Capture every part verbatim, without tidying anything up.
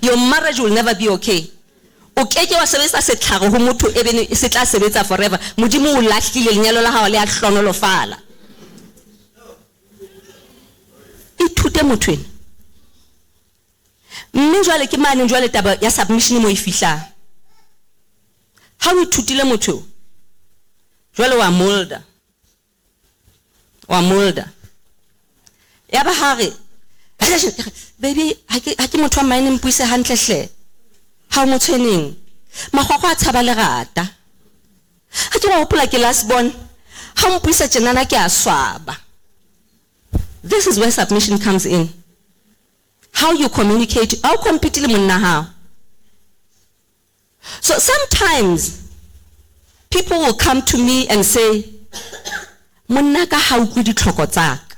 Your marriage will never be okay. O keke wa sebedisa setlhare ho motho e bene se tla sebetsa forever. Modimo o lahlile lenyalo la hao le a hlonolofala. Ithute motho ena. Mme jwale ke mane jwale taba ya submission mo e fihlang. Ha o ithutile motho, jwale wa molda. Wa molda. Ya ba ha re, baby, ha ke ha ke motho wa mine mpuise hantle hle. Ha o motshweneng. Makgwakgwa a tshaba lerata. Ha ke wa hopola ke last born. Ha o mpuisa tjenana ke a swaba. This is where submission comes in. How you communicate, how compete le monna hao. So sometimes people will come to me and say, monna ka ha utlwe ditlhoko tsa ka.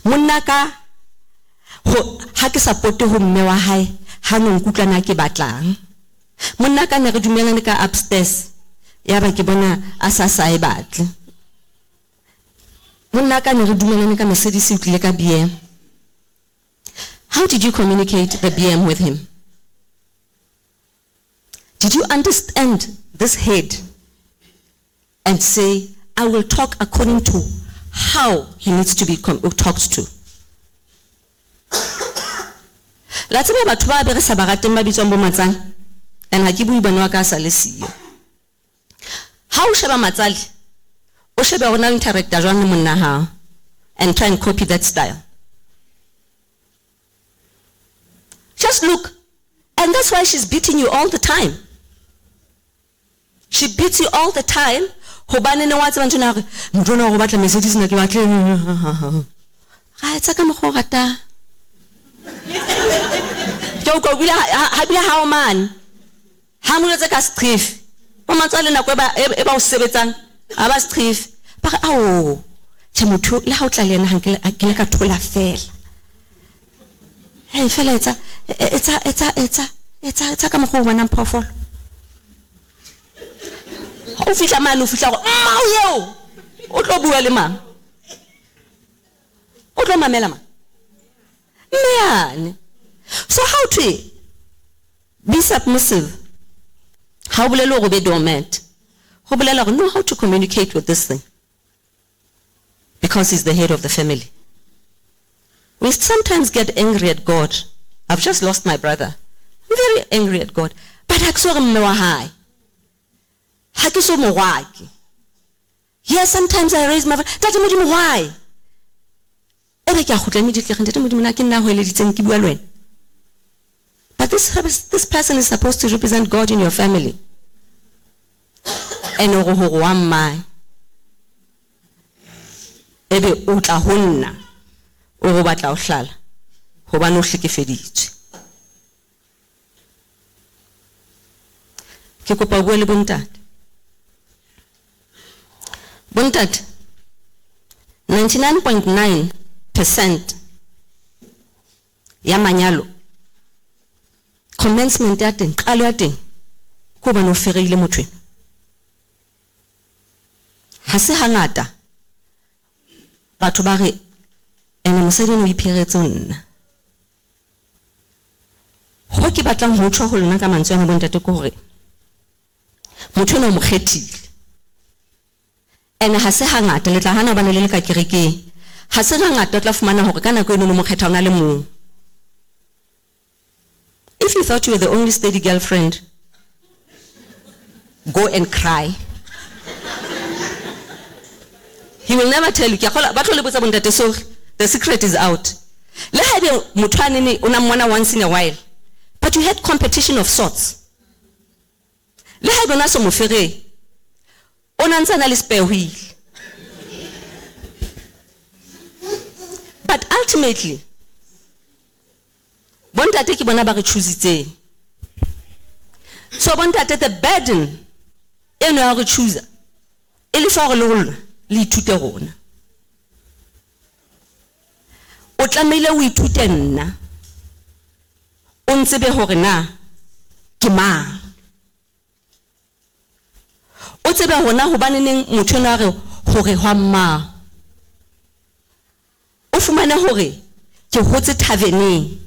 Monna ka ho ha ke support ho mme wa hae, ha no nkutlwa na ke batlang. Monna ka ne re dumelane ka upstairs, ya ba ke bona a sa sa e batle. Monna ka ne re dumelane ka Mercedes o tlile ka B M. How did you communicate the B M with him? Did you understand this head and say, I will talk according to how he needs to be com-, talked to? La tseba batho ba be re sa ba rateng ba bitswang bo matsale, and ha ke bue bana wa ka sa le siyo. Ha o sheba matsale, o shebe hore na o interacta jwang le monna hao, and try and copy that style. Just look. And that's why she's beating you all the time. She beats you all the time. Hobane ne wa tseba ntho ena hore, motho ona o batla Mercedes nna ke batle. Ga etsa ka mokgwa o ratang. Ke utlwa o bile ha, ha bile ha o mane. Ha mo jwetse ka seqhefe. Bo matswale nako e ba, e ba o sebetsang, ha ba seqhefe. Ba re, ao, tjhe motho, le ha o tla le yena, ha nke le, ha ke le ka thola fela. Hey, fela etsa, etsa, etsa, etsa, etsa, etsa ka mokgwa o bonang phoofolo. Ha o fihla mane, o fihla hore, mmao eo, o tlo bua le mang? O tlo mamela mang? Mme yane. So how to be submissive? Ha o bolele hore o be dormant. Ho bolela hore know how to communicate with this thing. Because he's the head of the family. We sometimes get angry at God. I've just lost my brother. I'm very angry at God. But ha ke so re mme wa hae. Ha ke so morwake. Yes, sometimes I raise my voice. Ntate Modimo, why? Ebe ke a kgutla immediately, Ntate Modimo, na ke nna ho eleditseng ke bua le wena. But this, this person is supposed to represent God in your family. Ene hore hore wa mmae. Ebe o tla ho nna, o re o batla ho hlala, hobane o hlekefeditswe. Ke kopa o bue le bontate. Bontate, ninety-nine point nine percent ya manyalo, commencement ya teng, qalo ya teng, ke hobane o fereile motho ena. Ha se hangata batho ba re, ene mosadi eno o ipheretse ho nna. Ho ke batlang ho tjho ho lona ka mantswe ana bontate ke hore motho eno o mo kgethile. Ene ha se hangata, le tla hana hobane le le ka kerekeng. Ha se hangata o tla fumana hore ka nako eno o mo kgetha o na le mong. If you thought you were the only steady girlfriend, go and cry. He will never tell you. Ke a kgolwa, ba tlo le botsa bontate, so the secret is out. Le haebe motho a nene o na mmona once in a while, but you had competition of sorts. Le haebe o na so mo feree, o na ntse a na le spare wheel. But ultimately, bontate ke bona ba re choositseng. So bontate, the burden eno ya re chooser, e le fa hore le rona le ithute rona. O tlamehile o ithute nna, o ntsebe hore na ke mang. O tsebe hore na hobane neng motho enwa a re hore hwa mmao. O fumane hore ke hotse taverneng.